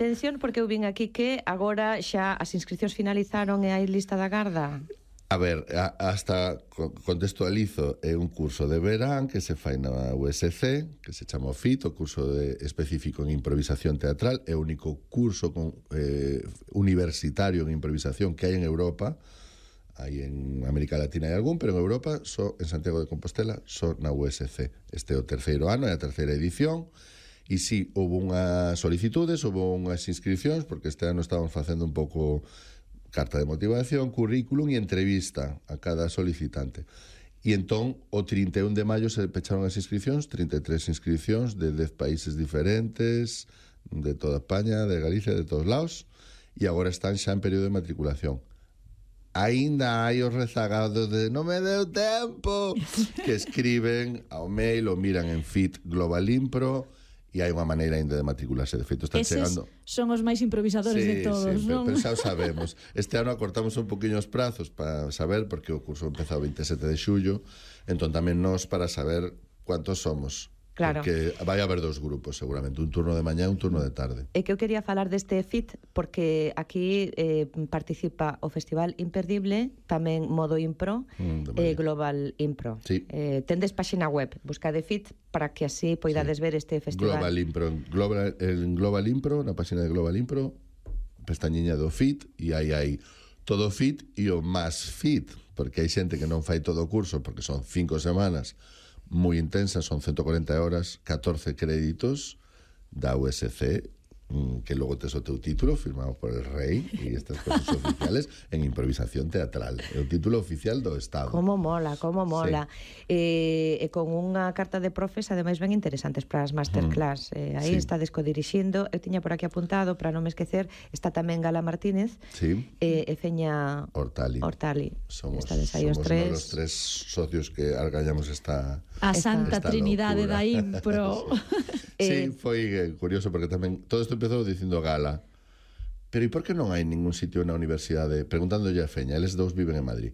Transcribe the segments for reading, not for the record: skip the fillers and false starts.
Atención, porque eu vin aquí que agora xa as inscripcións finalizaron e hai lista da garda. A ver, hasta contextualizo, é un curso de verán que se fai na USC, que se chama FIT, o curso específico en improvisación teatral, é o único curso universitario en improvisación que hai en Europa. Hai en América Latina hai algún, pero en Europa, só en Santiago de Compostela, só na USC. Este é o terceiro ano, é a terceira edición, e si, houve unhas solicitudes, houve unhas inscripcións, porque este ano estábamos facendo un pouco carta de motivación, currículum e entrevista a cada solicitante. E entón, o 31 de maio se pecharon as inscripcións, 33 inscripcións de 10 países diferentes, de toda España, de Galicia, de todos lados, e agora están xa en período de matriculación. Aínda hai os rezagados de non me deu tempo, que escriben ao mail ou miran en FIT Global Impro, e hai unha maneira ainda de matricularse. De feito, están chegando... son os máis improvisadores de todos, non? Pero xa o sabemos. Este ano acortamos un poquinho os prazos para saber, porque o curso empezou o 27 de xullo, entón tamén nós para saber cuántos somos. Claro. Porque vai haber dos grupos, seguramente, un turno de mañá e un turno de tarde. É que eu quería falar deste FIT porque aquí participa o Festival Imperdible, tamén Modo Impro e Global Impro. Sí. Tendes páxina web, buscade FIT para que así poidades ver este festival. Global Impro, en Global Impro, na páxina de Global Impro, pestañiña do FIT, e aí hai todo FIT e o máis FIT, porque hai xente que non fai todo o curso, porque son 5 semanas moi intensas, son 140 horas, 14 créditos da USC, que logo tes o teu título firmado por el rei e estas cosas oficiales en improvisación teatral. É o título oficial do Estado. Como mola, como mola. Sí. E con unha carta de profes ademais ben interesantes para as masterclass. Aí Sí. está descodirixindo. Eu tiña por aquí apuntado, para non me esquecer, está tamén Gala Martínez e Feña Hortali. Somos aí os tres. Os tres socios que argañamos esta Santa Trinidade da Impro. Sí, foi curioso porque tamén todo isto empezou dicindo Gala, pero e por que non hai ningún sitio na universidade, preguntándolle a Feña, eles dous viven en Madrid,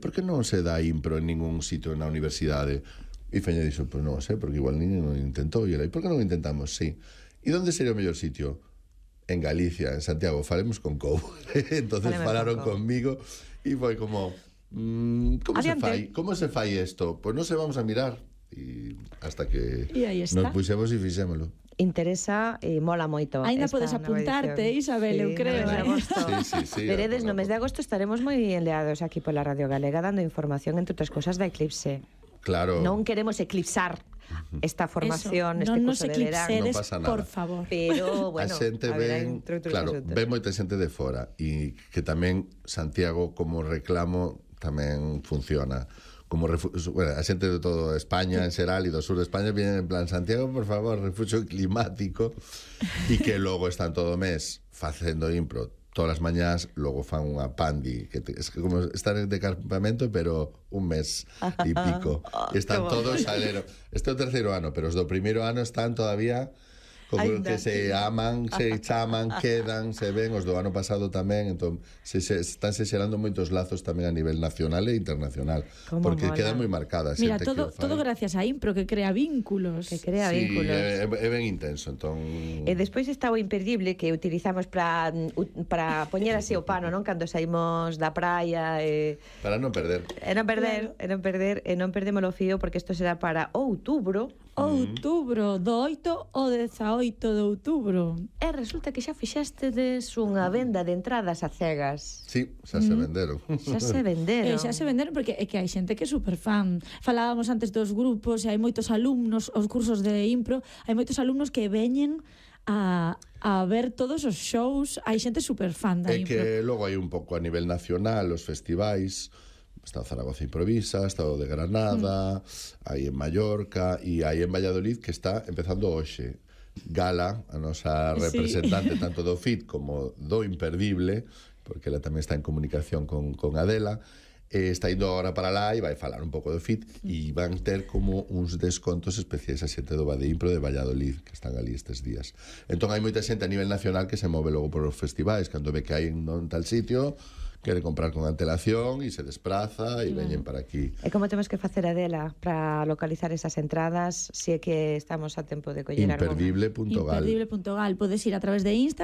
por que non se dá impro en ningún sitio na universidade? E Feña dixo, pois non sei, porque igual ninguén non intentou, e por que non intentamos? Sí. E onde sería o mellor sitio? En Galicia, en Santiago, falemos con Cou. Entonces falaron conmigo e foi como como se fai isto? Pois non se vamos a mirar, e hasta que nos puxemos e fixémolo. Interesa e mola moito. Ainda podes apuntarte, Isabel, eu creo. Sí. Veredes, no mes de agosto estaremos moi enleados aquí pola Radio Galega dando información, entre outras cosas, da Eclipse. Claro. Non queremos eclipsar esta formación, este curso de verán. Non pasa nada. Por favor. Pero, bueno, a xente ven, claro, ven moita xente de fora, e que tamén Santiago como reclamo tamén funciona. Como bueno, a xente de toda España en xeral e do sur de España vienen en plan Santiago, por favor, refugio climático, e que logo están todo o mes facendo impro todas as mañás, logo fan unha pandi, que es como estar de campamento, pero un mes e pico. Están todos alero. Este é o terceiro ano, pero os do primeiro ano están todavía como que se aman, se chaman, quedan, se ven. Os do ano pasado tamén, entón están se xerando moitos lazos tamén a nivel nacional e internacional, porque quedan moi marcadas. Mira, todo gracias a Impro, que crea vínculos. Vínculos. É ben intenso, entón. E despois está o Imperdible, que utilizamos para poñer así o pano, non? Cando saímos da praia para non perder. E non perdemos o fío, porque isto será para outubro. Do 8 ao 18 de outubro. E resulta que xa fixastedes unha venda de entradas a cegas. Sí, xa se venderon. Xa se venderon porque é que hai xente que é super fan. Falábamos antes dos grupos, e hai moitos alumnos, os cursos de impro, hai moitos alumnos que veñen a ver todos os shows. Hai xente super fan da impro. É que logo hai un pouco a nivel nacional, os festivais. Está o Zaragoza Improvisa, está o de Granada, hai en Mallorca e hai en Valladolid, que está empezando hoxe. Gala, a nosa representante tanto do FIT como do Imperdible, porque ela tamén está en comunicación con Adela, está indo agora para lá e vai falar un pouco do FIT, e van ter como uns descontos especiais a xente do Bade Impro de Valladolid, que están ali estes días. Entón hai moita xente a nivel nacional que se move logo por os festivais, cando ve que hai en tal sitio, quere comprar con antelación e se despraza e veñen para aquí. E como temos que facer, Adela, para localizar esas entradas, se é que estamos a tempo de coller Imperdible.gal. Imperdible.gal. Podes ir a través de Instagram